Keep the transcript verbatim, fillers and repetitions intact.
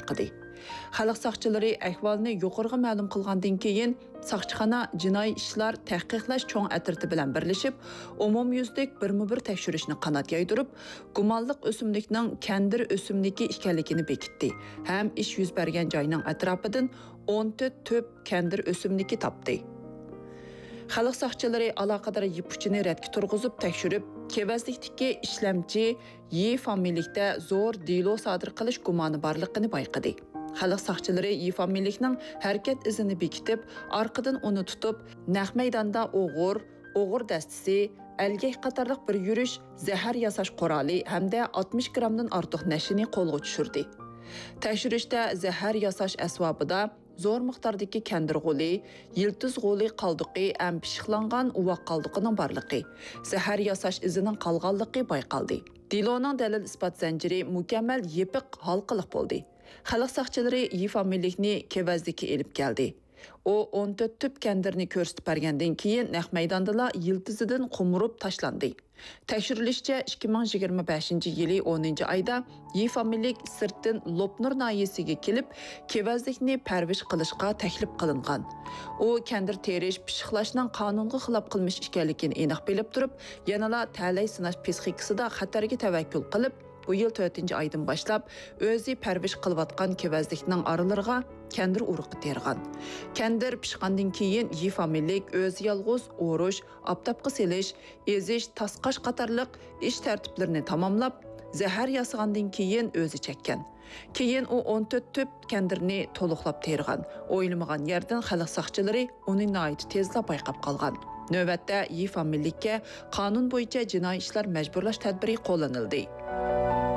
بايقىدى. خەلق ساقچىلىرى ئەھۋالنى يۇقىرىغا مەلۇم قىلغاندىن كېيىن، ساقچىخانا جىنايى ئىشلار تەھقىقلەش چوڭ ئەترىتى بىلەن بىرلىشىپ، ئومۇميۈزلۈك بىرمۇبىر تەكشۈرۈشنى قانات يايدۇرۇپ، گۇمانلىق ئۆسۈملۈكنىڭ كەندىر ئۆسۈملۈكى ئىكەنلىكىنى بېكىتتى ھەم ئىش يۈز بەرگەن جاينىڭ ئەتراپىدىن ئون تۆت تۈپ كەندىر ئۆسۈملۈكى تاپتى. خەلق ساقچىلىرى ئالاقىدار يىپ ئۇچىنى رەتكە تۇرغۇزۇپ تەكشۈرۈپ، كېۋەزلىكتىكى ئىشلەمچى يى فامىلىلىكتە زور دېلو سادىر قىلىش گۇمانى بارلىقىنى بايقىدى. خەلق ساقچىلىرى يى فامىلىلىكنىڭ ھەرىكەت ئىزىنى بېكىتىپ، ئارقىدىن ئۇنى تۇتۇپ، نەق مەيداندا ئوغۇر، ئوغۇر دەستىسى، ئەلگەك قاتارلىق بىر يۈرۈش زەھەر ياساش قورالى ھەمدە ئاتمىش گىرامدىن ئارتۇق نەشىنى قولغا چۈشۈردى. تەكشۈرۈشتە زەھەر ياساش ئەسۋابىدا زور مىقداردىكى كەندىر غولى، يىلتىز غولى قالدۇقى ھەم پىششىقلانغان ئۇۋاق قالدۇقىنىڭ بارلىقى، زەھەر ياساش ئىزىنىڭ قالغانلىقى بايقالدى. دېلونىڭ دەلىل-ئىسپات زەنجىرى مۇكەممەل يېپىق ھالقىلىق بولدى. خەلق ساقچىلىرى يى فامىلىلىكنى كېۋەزلىككە ئېلىپ كەلدى. ئۇ ئون تۆت تۈپ كەندىرنى كۆرسىتىپ بەرگەندىن كېيىن، نەق مەيداندىلا يىلتىزىدىن قومۇرۇپ تاشلاندى. تەكشۈرۈلۈشىچە، ئىككى مىڭ يىگىرمە بەشىنچى يىلى ئونىنچى ئايدا يى فامىلىلىك سىرتتىن لوپنۇر ناھىيەسىگە كېلىپ، كېۋەزلىكنى پەرۋىش قىلىشقا تەكلىپ قىلىنغان. ئۇ كەندىر تېرىش، پىششىقلاشنىڭ قانۇنغا خىلاپ قىلمىش ئىكەنلىكىنى ئېنىق بىلىپ تۇرۇپ، يەنىلا تەلەي سىناش پىسخىكىسىدا خەتەرگە تەۋەككۈل قىلىپ، بۇ يىل تۆتىنچى ئايدىن باشلاپ ئۆزى پەرۋىش قىلىۋاتقان كېۋەزلىكنىڭ ئارىلىرىغا كەندىر ئۇرۇقى تېرىغان. كەندىر پىشقاندىن كېيىن، يى فامىلىلىك ئۆزى يالغۇز ئورۇش، ئاپتاپقا سېلىش، ئېزىش، تاسقاش قاتارلىق ئىش تەرتىپلىرىنى تاماملاپ، زەھەر ياسىغاندىن كېيىن ئۆزى چەككەن. كېيىن ئۇ ئون تۆت تۈپ كەندىرنى تولۇقلاپ تېرىغان. ئويلىمىغان يەردىن خەلق ساقچىلىرى ئۇنى ناھايىتى تېزلا بايقاپ قالغان. نۆۋەتتە يى فامىلىلىككە قانۇن بويىچە جىنايى ئىشلار مەجبۇرلاش تەدبىرى قوللىنىلدى.